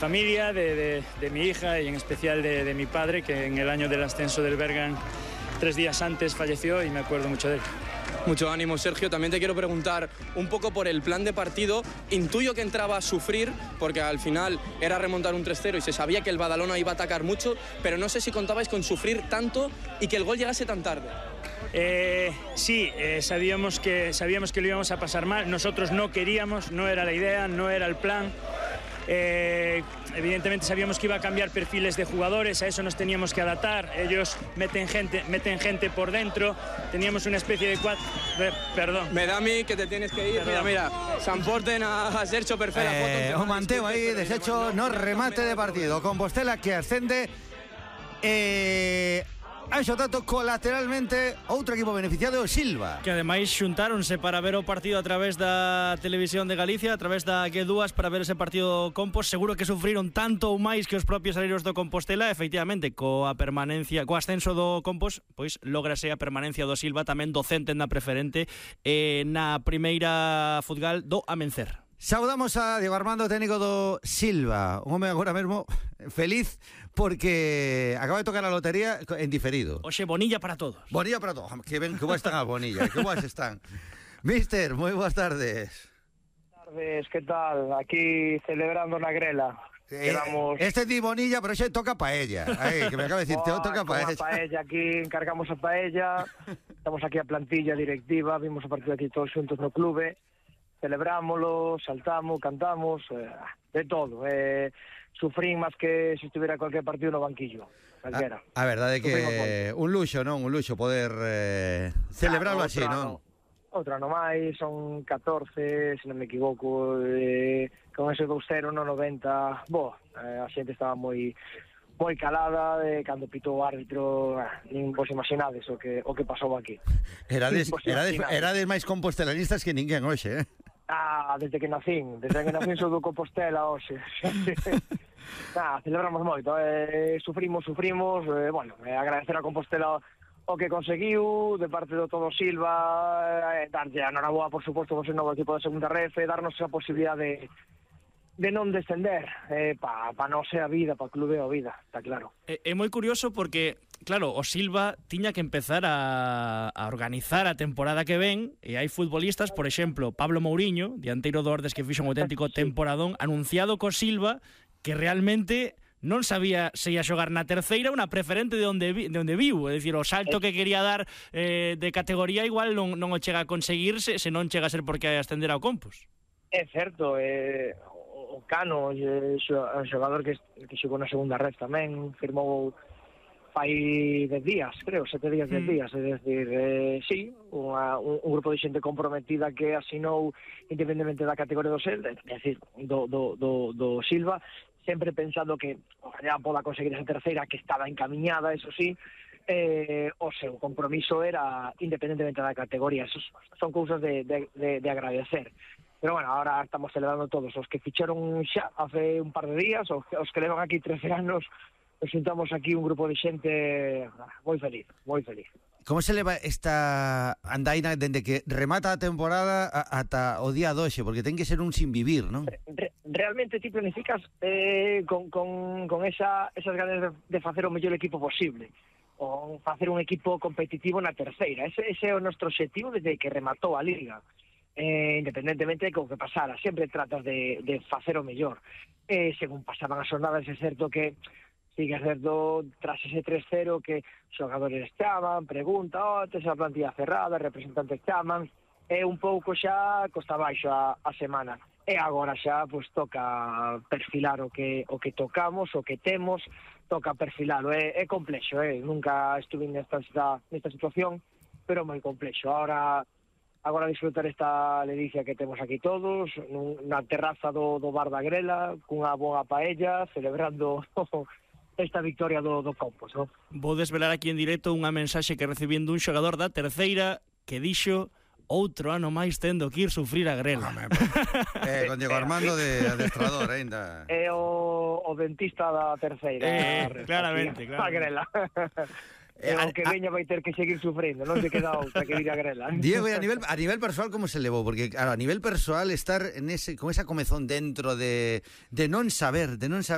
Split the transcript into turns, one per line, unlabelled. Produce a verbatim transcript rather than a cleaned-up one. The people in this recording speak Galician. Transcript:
Familia, de, de, de mi hija y en especial de, de mi padre, que en el año del ascenso del Bergan, tres días antes falleció y me acuerdo mucho de él.
Mucho ánimo, Sergio. También te quiero preguntar un poco por el plan de partido. Intuyo que entraba a sufrir, porque al final era remontar un tres cero y se sabía que el Badalona iba a atacar mucho, pero no sé si contabais con sufrir tanto y que el gol llegase tan tarde.
Eh, sí, eh, sabíamos que, sabíamos que lo íbamos a pasar mal. Nosotros no queríamos, no era la idea, no era el plan. Eh, evidentemente sabíamos que iba a cambiar perfiles de jugadores, a eso nos teníamos que adaptar. Ellos meten gente, meten gente por dentro. Teníamos una especie de cuatro... Perdón.
Me da a mí que te tienes que ir. Perdón. Mira, mira, s'emporten a Sergio Perfera.
Eh, o manteo aí, deshecho, no remate de partido. Compostela que ascende. Eh... Anxo Tato, colateralmente outro equipo beneficiado, o Silva,
que ademais xuntáronse para ver o partido a través da Televisión de Galicia, a través da G dúas, para ver ese partido Compos. Seguro que sufriron tanto ou máis que os propios areiros do Compostela. Efectivamente, coa permanencia, co ascenso do Compos, pois lógrase a permanencia do Silva, tamén docente na preferente e na primeira futgal do Amencer.
Saudamos a Diego Armando, técnico do Silva, un home agora mesmo feliz porque acaba de tocar a lotería en diferido.
Oxe, bonilla para todos.
Bonilla para todos. Que ben que boas están as bonillas, que boas están. Mister, moi boas tardes.
Boas tardes, que tal? Aquí celebrando na grela.
Eh,
Quedamos...
Este di bonilla, pero xe toca paella. Aí, que me acaba de decir, te toca paella.
paella. Aquí encargamos a paella. Estamos aquí a plantilla directiva, vimos o partido aquí todos xuntos no clube. Celebrámoslo, saltamos, cantamos, eh, de todo. Eh, sufrín máis que se estuviera cualquier partido no banquillo. Calquera.
A, a verdade é que un luxo, non? Un luxo poder eh, celebrarlo
claro,
así, non?
Outro ano máis, son catorce, se non me equivoco, eh, con ese dous cero no noventa. Bo, eh, a xente estaba moi moi calada, de cando pitou o árbitro, eh, nin vos imaginades o que o que pasou aquí.
Erades, erades, erades máis compostelanistas que ninguén hoxe, eh?
Ah, desde que nacín, desde que nacín sou do Compostela hoxe. Ah, celebramos moito, eh, sufrimos, sufrimos, eh, bueno, eh, agradecer a Compostela o que conseguiu, de parte do todo Silva, eh, darlle a noraboa, por suposto, vos novo equipo de segunda ref, darnos esa posibilidad de de non descender, eh, pa, pa non ser a vida, pa clube a vida, está claro.
É, é moi curioso porque, claro, o Silva tiña que empezar a, a organizar a temporada que ven, e hai futbolistas, por exemplo, Pablo Mourinho, dianteiro do Ordes, que fixo un auténtico temporadón, anunciado co Silva, que realmente non sabía se ia xogar na terceira, unha preferente de onde, vi, de onde viu, é dicir, o salto que quería dar eh, de categoría igual non, non o chega a conseguirse, se non chega a ser porque hai ascender ao Compos.
É certo, eh, o Cano, eh, o xogador que, que xogou na segunda red tamén, firmou fai dez días, creo, sete días, dez días, é dicir, eh, sí, unha, un, un grupo de xente comprometida que asinou independentemente da categoría do Sel, é dicir, do, do, do, do Silva, sempre pensando que ojalá poda conseguir esa terceira, que estaba encamiñada, eso sí, eh, o seu compromiso era independentemente da categoría. Esos son cousas de, de, de, de agradecer. Pero bueno, ahora estamos celebrando todos os que ficharon xa hace un par de días, os, os que levan aquí trece anos, nos juntamos aquí un grupo de xente moi feliz, moi feliz.
Como se leva esta andaina dende que remata a temporada ata o día doxe? Porque ten que ser un sin vivir, non?
Re, realmente ti planificas eh, con, con, con esa, esas ganas de, de facer o mellor equipo posible, o facer un equipo competitivo na terceira. Ese, ese é o noso objetivo desde que rematou a Liga. Eh, independentemente de como que pasara, sempre tratas de, de facer o mellor. Eh, según pasaban as jornadas, é certo que sigue certo tras ese tres cero que xogadores chaman, pregunta, oh, tes a plantilla cerrada, representantes chaman, e un pouco xa costa baixo a, a semana. E agora xa pues, toca perfilar o que o que tocamos, o que temos, toca perfilalo. É, é complexo, eh? Nunca estuve nesta, nesta situación, pero moi complexo. Ahora Agora disfrutar esta ledicia que temos aquí todos, na terraza do, do Bar da Grela, cunha boa paella, celebrando esta victoria do, do Compos, non?
Vou desvelar aquí en directo unha mensaxe que recibín dun xogador da terceira que dixo: outro ano máis tendo que ir sufrir a Grela.
Home, pues, eh, con Diego Armando de adestrador aínda.
É o, o dentista da terceira.
Eh, claramente, claro.
A Grela. E o que veña vai ter que seguir sufrindo, non se queda outra que ir a Grela.
Diego, e a nivel a nivel persoal como se levou? Porque claro, a nivel persoal estar en ese con esa comezón dentro de de non saber, de non saber